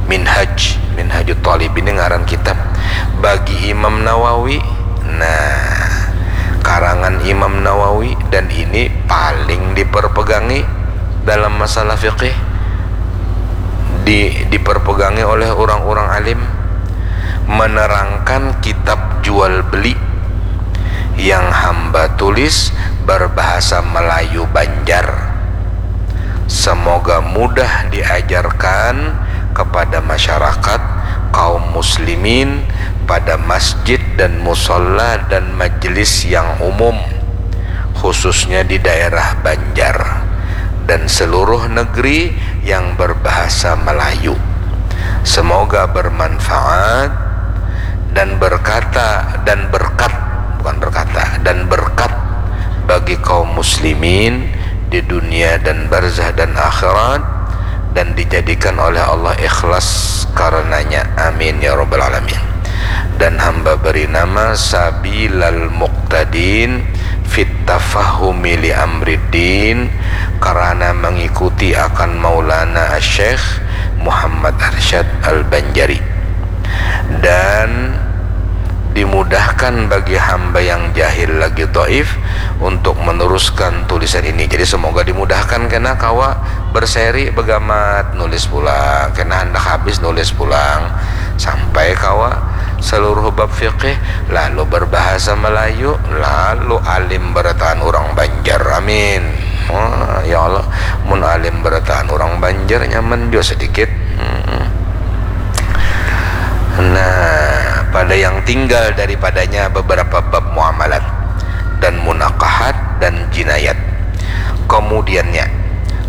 Minhaj, Minhajut Thalibin ini ngaran kitab bagi Imam Nawawi. Nah, karangan Imam Nawawi, dan ini paling diperpegangi dalam masalah fikih. Di-, diperpegangi oleh orang-orang alim, menerangkan kitab jual beli yang hamba tulis berbahasa Melayu Banjar. Semoga mudah diajarkan kepada masyarakat kaum muslimin pada masjid dan musola dan majelis yang umum, khususnya di daerah Banjar dan seluruh negeri yang berbahasa Melayu. Semoga bermanfaat dan berkata, dan berkat, bukan berkata, dan berkat bagi kaum muslimin di dunia dan barzah dan akhirat, dan dijadikan oleh Allah ikhlas karenanya. Amin ya rabbal alamin. Dan hamba beri nama Sabilal Muqtadin fit Tafahumi li Amriddin, karena mengikuti akan Maulana Syekh Muhammad Arsyad Al-Banjari. Dan dimudahkan bagi hamba yang jahil lagi dhaif untuk meneruskan tulisan ini. Jadi semoga dimudahkan kena kawa berseri begamat nulis pulang, kena handak habis nulis pulang, sampai kawa seluruh bab fikih, lalu berbahasa Melayu, lalu alim berataan orang Banjar. Amin. Wah, ya Allah, mun alim berataan orang Banjar nyaman jua sedikit. Hmm. Nah, pada yang tinggal daripadanya beberapa bab muamalat dan munakahat dan jinayat. Kemudiannya,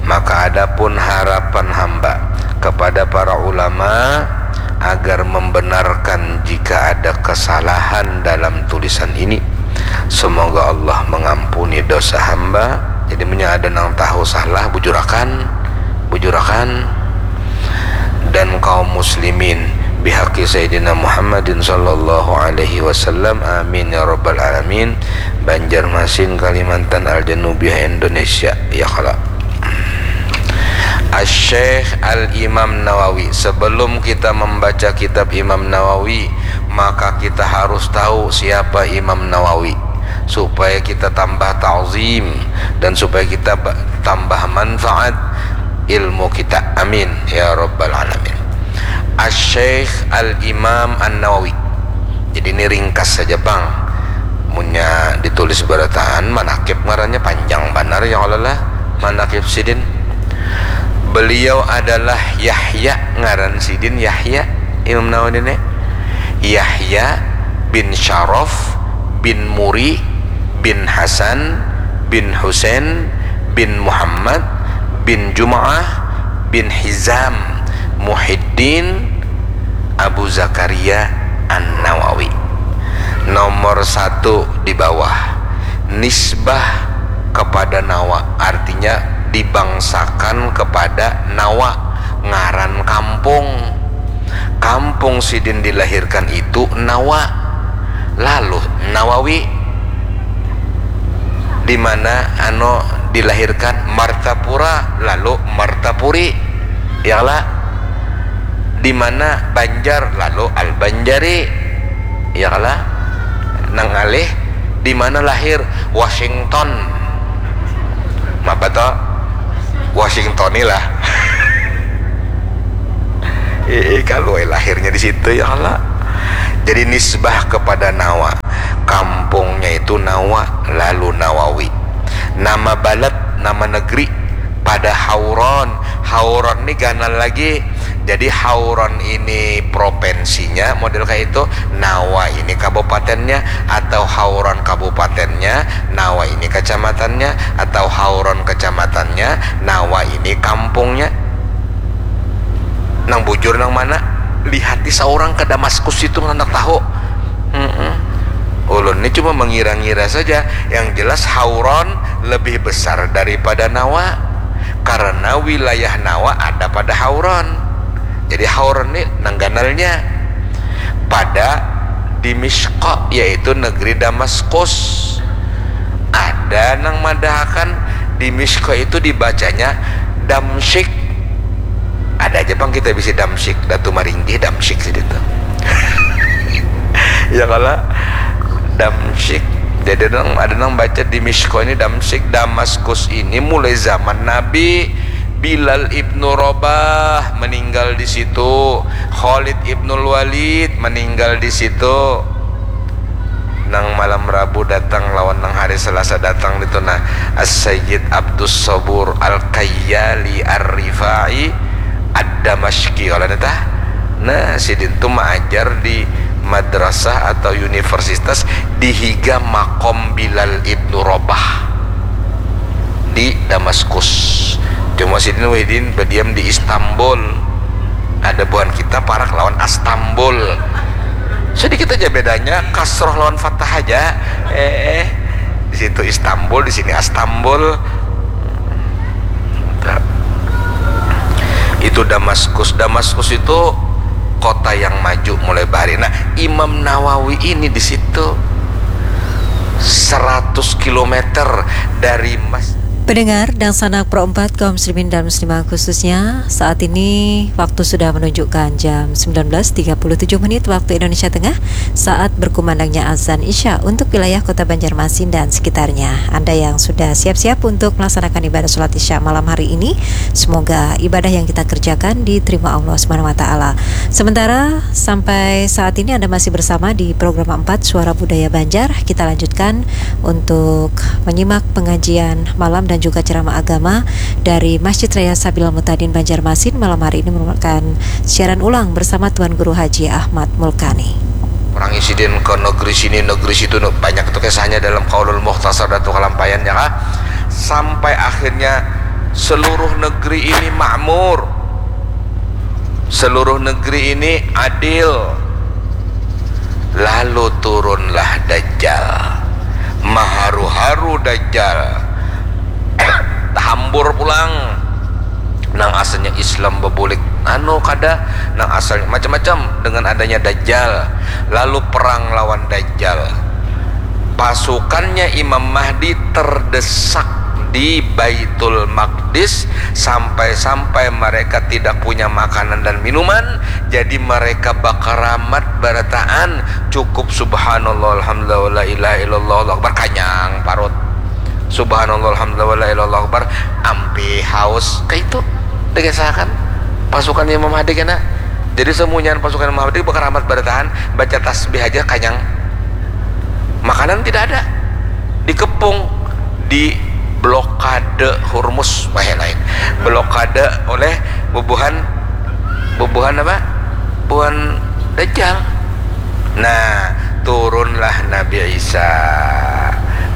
maka adapun harapan hamba kepada para ulama agar membenarkan jika ada kesalahan dalam tulisan ini. Semoga Allah mengampuni dosa hamba. Jadi, munnya ada nang tahu salah, bujurakan, bujurakan. Dan kaum muslimin bihaqi Sayyidina Muhammadin sallallahu alaihi wasallam. Amin ya rabbal alamin. Banjarmasin, Kalimantan, Al-Janubiyah, Indonesia. Ya kala. Asy-Syaikh Al-Imam Nawawi. Sebelum kita membaca kitab Imam Nawawi, maka kita harus tahu siapa Imam Nawawi, supaya kita tambah ta'zim dan supaya kita ba-, tambah manfaat ilmu kita. Amin ya rabbal alamin. Asy-Syaikh Al-Imam An-Nawawi. Jadi, ini ringkas saja pang. Munnya ditulis berataan, manakib ngarannya panjang banar, ya Allah lah. Manakib sidin. Beliau adalah Yahya, ngaran sidin Yahya, Imam Nawawi ini. Yahya bin Syaraf bin Muri bin Hasan bin Husain bin Muhammad bin Jum'ah bin Hizam Muhyiddin Abu Zakaria An-Nawawi. Nomor satu di bawah, nisbah kepada Nawa, artinya dibangsakan kepada Nawa, ngaran kampung. Kampung sidin dilahirkan itu Nawa, lalu Nawawi. Di mana, anu, dilahirkan Martapura, lalu Martapuri. Ya lah. Di mana Banjar, lalu Al-Banjari. Ya lah. Nang ngalih, di mana lahir? Washington. Mapa to? Washington ni lah. Eh, kalau lahirnya di situ, ya Allah. Jadi, nisbah kepada Nawa, kampung Nama balad, nama negeri pada Hauron. Hauron ni ganal lagi. Jadi Hauron ini provinsinya model kayak itu, Nawa ini kabupatennya, atau Hauron kabupatennya, Nawa ini kecamatannya, atau Hauron kecamatannya, Nawa ini kampungnya. Nang bujur nang mana? Lihati saurang ke Damaskus itu, handak tahu. Mm-mm. Ulun ni cuma mengira-ngira saja. Yang jelas Hauron lebih besar daripada Nawa, karena wilayah Nawa ada pada Hauron. Jadi Hauron ni nang ganalnya. Pada Dimishqa, yaitu negeri Damaskus. Ada nang madahakan Dimishqa itu dibacanya Damsyik. Ada aja pang kita bisi Damsyik, Datu Maringgih Damsyik sih itu. Ya kalau Damsyik. Jadi nang ada nang baca Dimishqa ini Damsyik. Damaskus ini mulai zaman Nabi, Bilal ibnu Rabah meninggal di situ, Khalid ibnul Walid meninggal di situ. Nang malam Rabu datang lawan nang hari Selasa datang itu nah, As-Sayyid Abdus Sabur Al-Kayyali Ar-Rifai Ad-Damashqi, kalau tah. Nah, sidin tu maajar di madrasah atau universitas di higa makom Bilal ibnu Rabah di Damaskus. Cuma sidin wahidin berdiam di Istanbul. Ada buhan kita parak lawan Astambul. Sedikit aja bedanya, kasroh lawan fathah aja. Eh, di situ Istanbul, di sini Astambul. Itu Damaskus. Damaskus itu kota yang maju mulai bahari. Nah, Imam Nawawi ini di situ seratus kilometer dari mas- Pendengar dan sanak Pro empat kaum muslimin dan muslimah khususnya, saat ini waktu sudah menunjukkan jam sembilan belas tiga puluh tujuh menit waktu Indonesia Tengah, saat berkumandangnya azan Isya untuk wilayah Kota Banjarmasin dan sekitarnya. Anda yang sudah siap-siap untuk melaksanakan ibadah sholat Isya malam hari ini, semoga ibadah yang kita kerjakan diterima Allah Subhanahu wa Ta'ala. Sementara sampai saat ini Anda masih bersama di Program empat Suara Budaya Banjar, kita lanjutkan untuk menyimak pengajian malam dan juga ceramah agama dari Masjid Raya Sabilal Mutadin Banjarmasin. Malam hari ini merupakan siaran ulang bersama Tuan Guru Haji Ahmad Mulkani. Orang isidin ke negeri sini, negeri situ, banyak itu kisahnya dalam Qaulul Mukhtasar Datu Kalampayan, ya kah? Sampai akhirnya seluruh negeri ini makmur. Seluruh negeri ini adil. Lalu turunlah Dajjal. Maharu-haru Dajjal. Tahambur pulang. Nang asalnya Islam bebulik, anu, kada, nang asalnya macam-macam dengan adanya Dajjal. Lalu perang lawan Dajjal. Pasukannya Imam Mahdi terdesak di Baitul Maqdis sampai-sampai mereka tidak punya makanan dan minuman, jadi mereka bakaramat barataan, cukup subhanallah, alhamdulillah, la ilaha illallah, Allahu akbar, kanyang parut. Subhanallah, alhamdulillah, la ilaha illallah, Allahu akbar, ampih haus. Kayak itu dikisahakan pasukan Imam Mahdi kena. Jadi semunyahan pasukan Imam Mahdi bakaramat barataan, baca tasbih aja kanyang. Makanan tidak ada. Dikepung, diblokade Hormuz, wah, lain. Blokade oleh bubuhan, bubuhan apa? Bubuhan Dajjal. Nah, turunlah Nabi Isa.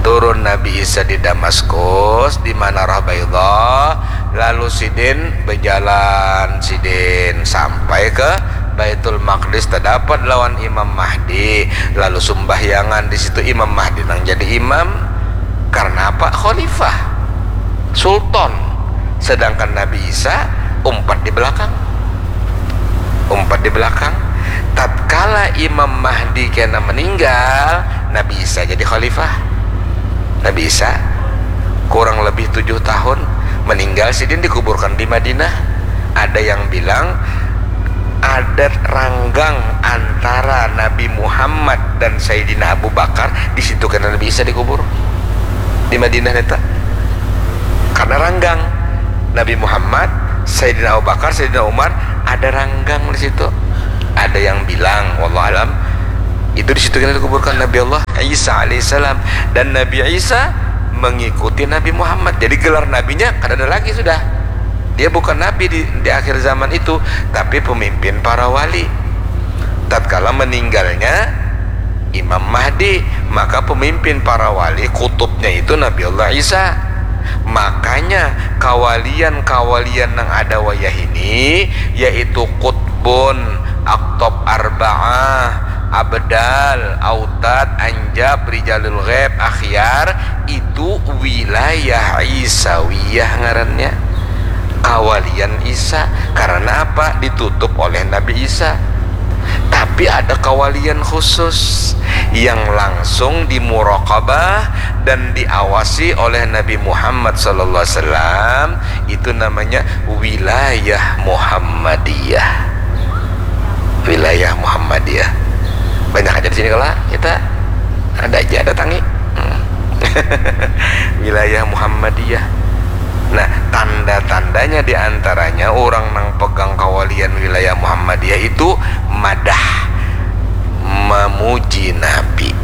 Turun Nabi Isa di Damaskus, di Manarah Baidha. Lalu sidin bejalan, sidin sampai ke Baitul Maqdis, tadapat lawan Imam Mahdi, lalu sumbahyangan di situ. Imam Mahdi nang jadi imam, karena apa? Khalifah, sultan, sedangkan Nabi Isa umpat di belakang, umpat di belakang. Tatkala Imam Mahdi kena meninggal, Nabi Isa jadi khalifah. Nabi Isa kurang lebih tujuh tahun meninggal, sidin dikuburkan di Madinah. Ada yang bilang ada ranggang antara Nabi Muhammad dan Sayyidina Abu Bakar, di situ kena Nabi Isa dikubur, di Madinah neta. Karena ranggang Nabi Muhammad, Sayyidina Abu Bakar, Sayyidina Umar, ada ranggang di situ. Ada yang bilang, wallahu alam, itu di situ kena dikuburkan Nabi Allah Isa alaihissalam. Dan Nabi Isa mengikuti Nabi Muhammad. Jadi gelar nabinya kada ada lagi sudah. Dia bukan nabi di, di akhir zaman itu, tapi pemimpin para wali. Tatkala meninggalnya Imam Mahdi, maka pemimpin para wali, kutubnya itu Nabi Allah Isa. Makanya kawalian-kawalian yang ada wayah ini, yaitu kutbun, aktob arbaah, abdal, autad, anjab, rijalul ghaib, akhyar, itu wilayah Isawiyah ngarannya. Kawalian Isa. Karena apa? Ditutup oleh Nabi Isa. Tapi ada kawalian khusus yang langsung dimuraqabah dan diawasi oleh Nabi Muhammad sallallahu alaihi wasallam, itu namanya wilayah Muhammadiyah. Wilayah Muhammadiyah. Banyak aja di sini kalau kita ada aja datangi. Hmm. Wilayah Muhammadiyah. Nah, tanda-tandanya diantaranya orang nang pegang kawalian wilayah Muhammadiyah itu madah, memuji Nabi.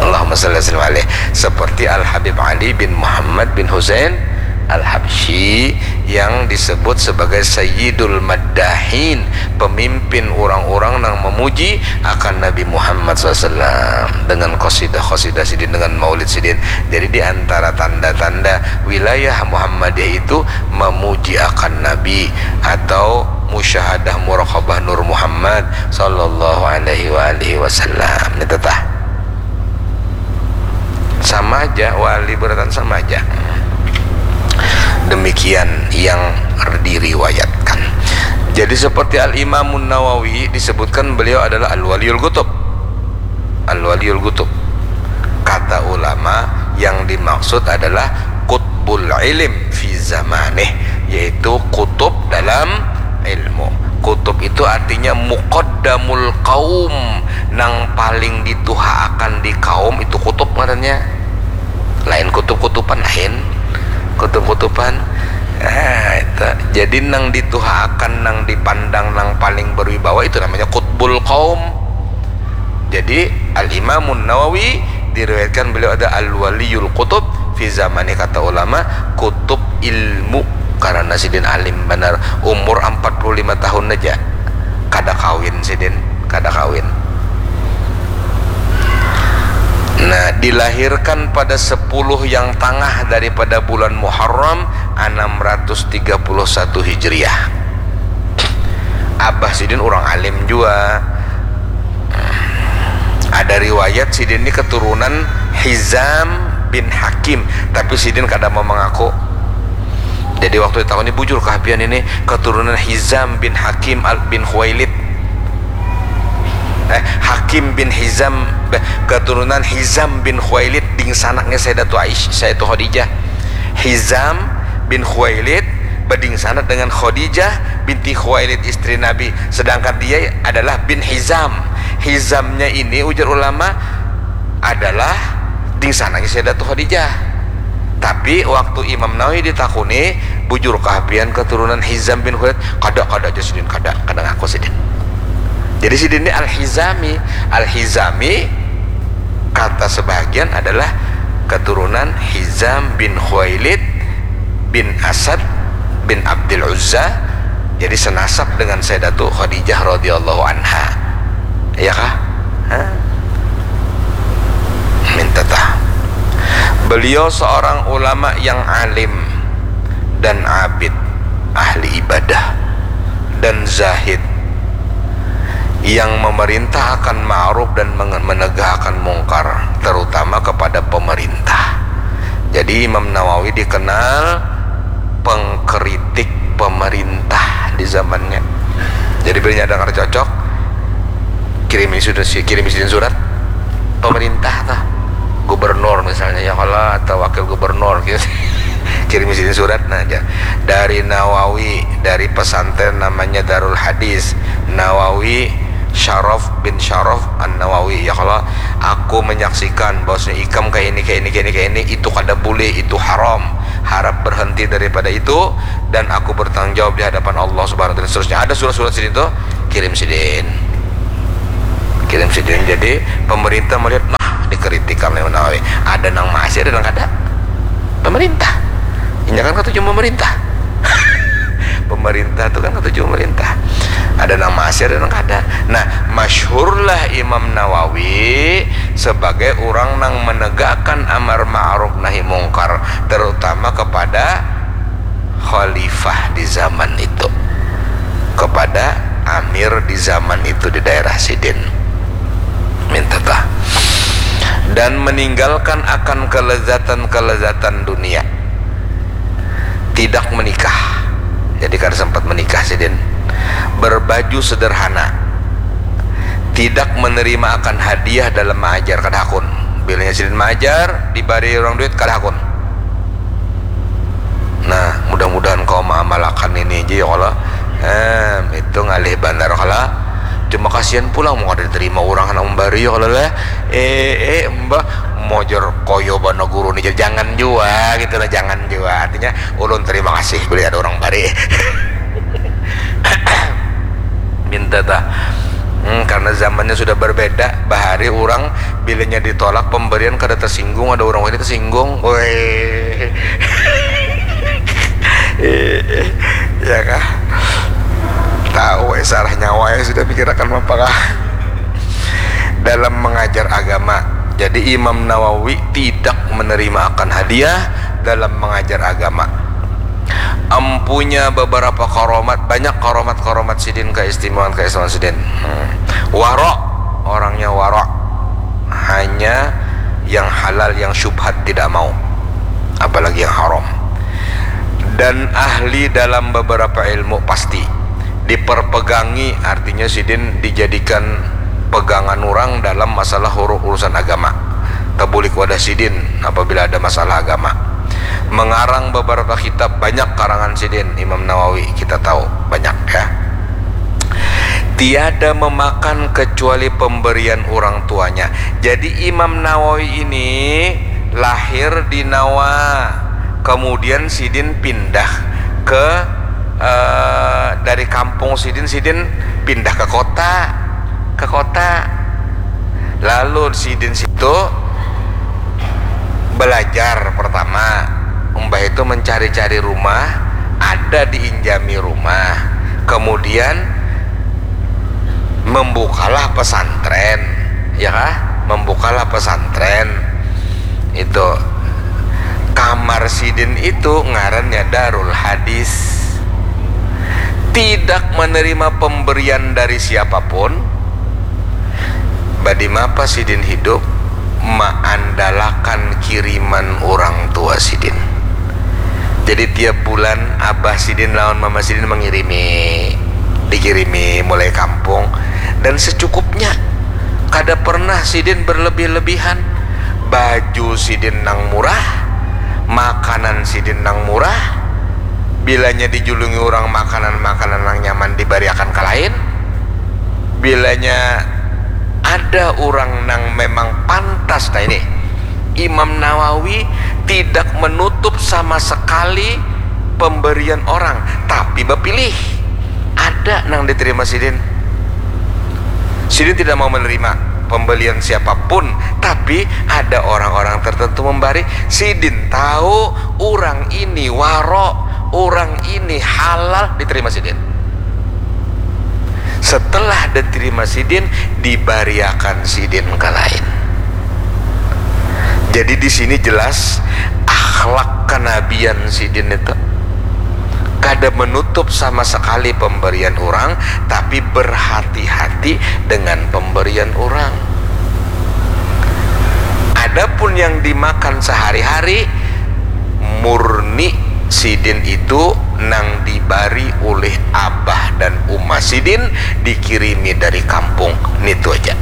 Allahumma salli wa sallim alaih. Seperti Al Habib Ali bin Muhammad bin Husain Al Habsyi yang disebut sebagai Sayyidul Maddahin, pemimpin orang-orang yang memuji akan Nabi Muhammad sallallahu alaihi wasallam dengan qasidah-qasidah sidin, dengan maulid sidin. Jadi di antara tanda-tanda wilayah Muhammadiyah itu memuji akan Nabi atau musyahadah muraqabah Nur Muhammad sallallahu alaihi wa alihi wasallam. Ini tetah. Sama aja, wali beratan sama aja. Demikian yang diriwayatkan. Jadi seperti Al-Imamun Nawawi disebutkan beliau adalah Al-Waliyul Qutub. Al-Waliyul Qutub. Kata ulama yang dimaksud adalah qutbul ilim fi zamanih, yaitu kutub dalam ilmu. Kutub itu artinya muqaddamul qaum, nang paling dituhaakan di kaum itu kutub ngarannya. Lain kutub-kutuban, lain kutub-kutuban. Nah, itu. Jadi nang dituhaakan, nang dipandang, nang paling berwibawa itu namanya qutbul qaum. Jadi Al Imamun Nawawi diriwayatkan beliau ada Al Waliyul Qutub fi zamani, kata ulama kutub ilmu, karena sidin alim banar, umur empat puluh lima tahun aja kada kawin sidin, kada kawin. Nah, dilahirkan pada sepuluh yang tangah daripada bulan Muharram enam ratus tiga puluh satu Hijriah. Abah sidin orang alim jua. Ada riwayat sidin ni keturunan Hizam bin Hakim, tapi sidin kada mau mengaku. Jadi waktu ditakuni, "Bujur kah pian ini keturunan Hizam bin Hakim al bin Khuwailid?" Eh, Hakim bin Hizam, eh, keturunan Hizam bin Khuwailid, dingsanaknya Sayyidatu Aisyah, Sayyidatu Khadijah. Hizam bin Khuwailid badingsanak dengan Khadijah binti Khuwailid, istri Nabi. Sedangkan dia adalah bin Hizam. Hizamnya ini, ujar ulama, adalah dingsanaknya Sayyidatu Khadijah. Tapi waktu Imam Nawawi ditakuni, "Bujurkah pian keturunan Hizam bin Khuwailid?" "Kada, kada," jar sidin, "kada, kada ngaku sidin." Jadi sidin ini Al-Hizami. Al-Hizami, kata sebahagian, adalah keturunan Hizam bin Khuwailid bin Asad bin Abdul Uzza. Jadi senasab dengan Sayyidatu Khadijah radhiyallahu anha. Iya kah? Hah? Minta tah. Beliau seorang ulama yang alim dan abid, ahli ibadah dan zahid, yang memerintah akan ma'ruf dan menge-, menegah akan mungkar, terutama kepada pemerintah. Jadi Imam Nawawi dikenal pengkritik pemerintah di zamannya. Jadi bila ada kada cocok, kirimi sudah si-, kirimi sidin surat pemerintah tah, gubernur misalnya, ya kalau, atau wakil gubernur gitu. Kirimi sidin surat, nah, aja dari Nawawi, dari pesantren namanya Darul Hadis Nawawi, Syaraf bin Syaraf An Nawawi, ya kalau, "Aku menyaksikan bahwasanya ikam kayak ini, kayak ini, kayak ini, kayak ini, itu kada boleh, itu haram, harap berhenti daripada itu, dan aku bertanggung jawab di hadapan Allah Subhanahu wa Taala," dan seterusnya. Ada surat-surat sidin tuh, kirim sidin, kirim sidin. Jadi pemerintah melihat, "Nah, Dikritik kami Nawawi. Ada nang masih, ada nang kada. Pemerintah. Inya kan katuju memerintah. Pemerintah tu kan katuju memerintah. Ada nang masih, ada nang kada. Nah, masyhurlah Imam Nawawi sebagai orang nang menegakkan amar ma'ruf nahi mungkar, terutama kepada khalifah di zaman itu, kepada amir di zaman itu di daerah sidin. Minta tah. Dan meninggalkan akan kelezatan-kelezatan dunia. Tidak menikah. Jadi kada sempat menikah sidin. Berbaju sederhana. Tidak menerima akan hadiah dalam mengajar, kada hakun. Bilanya sidin mengajar, dibari orang duit, kada hakun. Nah, mudah-mudahan kau mengamalkan ini aja ya Allah. Em, itu ngalih banar kala. Cuma kasihan pulang mau kada diterima orang anak membari ya Allah lah. Eh, eh, mbah, mojar koyo bana guru ni, jangan jua gitu lah, jangan jua. Artinya, ulun terima kasih bila ada orang bari. Minta tah. Hmm, karena zamannya sudah berbeda, bahari orang bilanya ditolak pemberian kada tersinggung, ada orang ini tersinggung. Woi. Ya kah? Tahu eh, sarah nyawa ya sudah pikirakan apa kah? Dalam mengajar agama. Jadi Imam Nawawi tidak menerima akan hadiah dalam mengajar agama. Empunya beberapa karomat, banyak karomat-karomat sidin, keistimewaan-keistimewaan sidin. Hmm. Waro, orangnya waro. Hanya yang halal, yang syubhat tidak mau. Apalagi yang haram. Dan ahli dalam beberapa ilmu pasti. Diperpegangi, artinya sidin dijadikan pegangan orang dalam masalah huru-, urusan agama. Tabulik wadah sidin apabila ada masalah agama. Mengarang beberapa kitab, banyak karangan sidin, Imam Nawawi, kita tahu, banyak ya. Tiada memakan kecuali pemberian orang tuanya. Jadi Imam Nawawi ini lahir di Nawa, kemudian sidin pindah ke, eh, dari kampung sidin, sidin pindah ke kota, ke kota. Lalu sidin situ belajar pertama, umbah itu mencari-cari rumah, ada diinjami rumah, kemudian membukalah pesantren, ya kah? Membukalah pesantren itu. Kamar sidin itu ngarannya Darul Hadis. Tidak menerima pemberian dari siapapun. Badimapa sidin hidup, maandalakan kiriman orang tua sidin. Jadi tiap bulan abah sidin lawan mama sidin mengirimi, dikirimi mulai kampung, dan secukupnya. Kada pernah sidin berlebih-lebihan. Baju sidin nang murah, makanan sidin nang murah. Bilanya dijulungi orang makanan-makanan nang nyaman dibariakan ka lain. Bilanya ada orang nang memang pantas, nah ini Imam Nawawi tidak menutup sama sekali pemberian orang, tapi bapilih. Ada nang diterima sidin. Sidin tidak mau menerima pembelian siapapun, tapi ada orang-orang tertentu membari. Sidin tahu orang ini waro, orang ini halal, diterima sidin. Setelah diterima sidin, dibariakan sidin ka lain. Jadi di sini jelas akhlak kenabian sidin itu kada menutup sama sekali pemberian orang, tapi berhati-hati dengan pemberian orang. Adapun yang dimakan sehari-hari, murni sidin itu nang dibari ulih abah dan uma sidin, dikirimi dari kampung, nitu aja.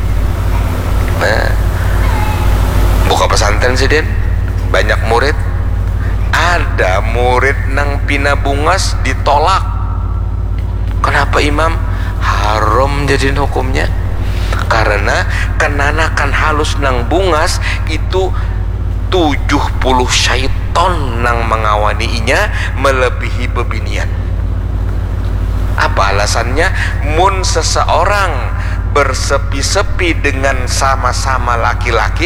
Nah, buka pesantren sidin, banyak murid, ada murid nang pina bungas ditolak. Kenapa, Imam? Haram jadinya hukumnya. Karena kenanakan halus nang bungas itu tujuh puluh syaiton nang mengawani inya melebihi bebinian. Apa alasannya? Mun seseorang bersepi-sepi dengan sama-sama laki-laki,